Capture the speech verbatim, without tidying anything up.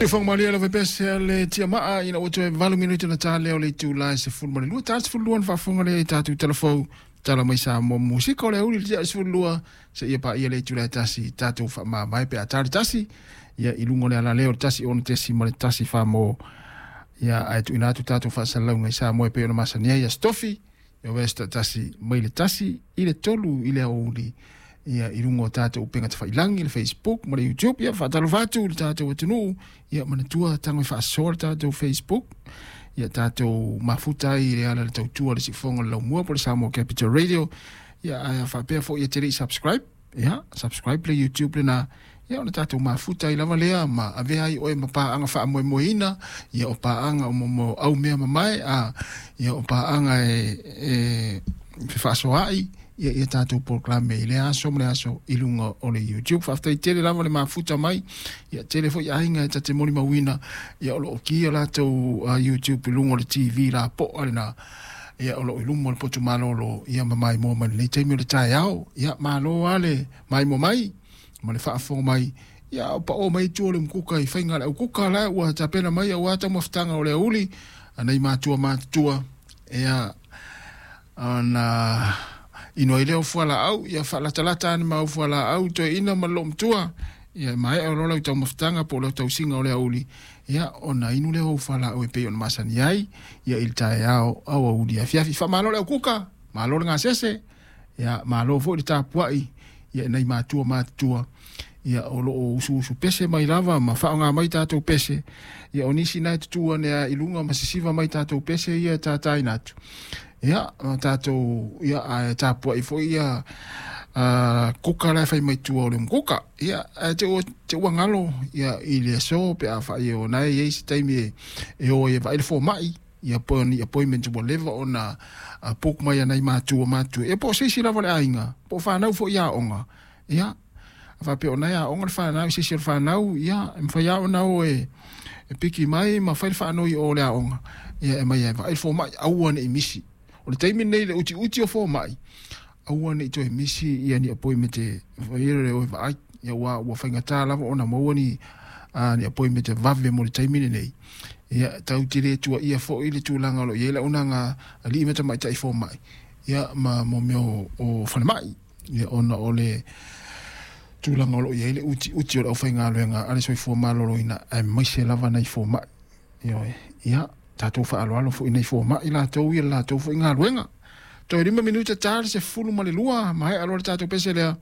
Fofoga malie lava pese le tiamaa ina ua toe valu minute na ta lea o le itulā e sefulu ma le lua, ta le sefulu lua na faafofoga lea i tatou telefou tala mai Samoa musika o le auli le tia sefulu lua seia paia le itulā e tasi tatou faamavae pe a ta le tasi ia i luga o le alaleo o le tasi ono tesi ma le tasi famo ia ae tuuina atu tatou faasalalauga i Samoa e pei ona masani ai Aso Tofi ia vesta tasi mai le tasi i le tolu i le aoauli ia i luga o tatou upega tafailagi, le Facebook ma le YouTube. Ia faatalofa atu i le tatou atunuu. Ia manatua tago e faasoa le tatou Facebook ia tatou mafuta ai i le ala le tautua le siufofoga o le laumua po o le Samoa Capital Radio. Ia ae faapea foi e te lei subscribe, ia subscribe le YouTube lena ia ona tatou mafuta ai lava lea ma avea ai oe ma paaga faamoemoeina ia o paaga o mo au mea mamae a ia o paaga e e fefaasoaai ia ia tatou polokalame i lea aso ma le aso i luga o le YouTube. Faafetai tele lava le mafuta mai. Ia tele foi aiga e ta te molimauina ia o loo kia latou uh, YouTube i luga o le T V lapoa lena ia o loo i luma o le potu malolo ia ma maimoa mai lenei taimi o le taeao. Ia malo lava le maimoa mai ma le faafofoga mai. Ia o pao mai tua o le mukuka i faiga le aukuka la ua tapena mai aua taumafataga o le auli anai matua matutua ia ona inu ai lea o fualaau ia faalatalata ane ma au fualaau toeaina ma le loomatua ia maea o loa lau taumafataga po o lau tausiga o le auli ia ona inu lea o au fualaau e pei ona masani ai ia i le taeao auauli afiafi. Faamalo le aukuka, malo le gasese, ia malo foi le tapuai ia nai matua matutua ia o loo usuusu pese mai lava ma faaaoga mai tatou pese ia o nisi na e tutu ane a i luga ma sisiva mai tatou pese ia e tataina atu ia ma tatou ia ae tapuai foi ia uh, kuka la e fai mai tua o le mukuka ia ae te ua te ua galo ia i le aso pe a fai o na e i ai se taimi e, e o ai e vaai le fomai ia po ni appointment ua leva ona uh, book mai anai matua matua ia po o se isi lava le aiga po o fanau foi aoga ia faapea o nai aoga le fanau se isi o le fanau ia e mafai lava ona o e e piki mai ma fai le faanoi o le aoga ia e mai e vaai le fomai aua nei misi o le taimi lenei le utiuti o fomai aua nei toe misi ia ni appointment e faia le o e vaai ia ua ua faigata lava ona maua ni uh, ni appointment e vave mo le taimi lenei. Ia tau te le tuaia foi le tulaga o lo o i ai le auaunaga alii ma tamaitai fomai ia ma mo mea o, o falemai ia ona o le tulaga o lo o i ai le utiuti o le aufaigaluega a le soifua maloloina aemaise lava nai fomai. Ioe, ia tatou faaaloalo foi nai fomai latou ia le latou foi galuega. Toe lima minuta ta le sefulu ma le lua maea loa le tatou pese lea.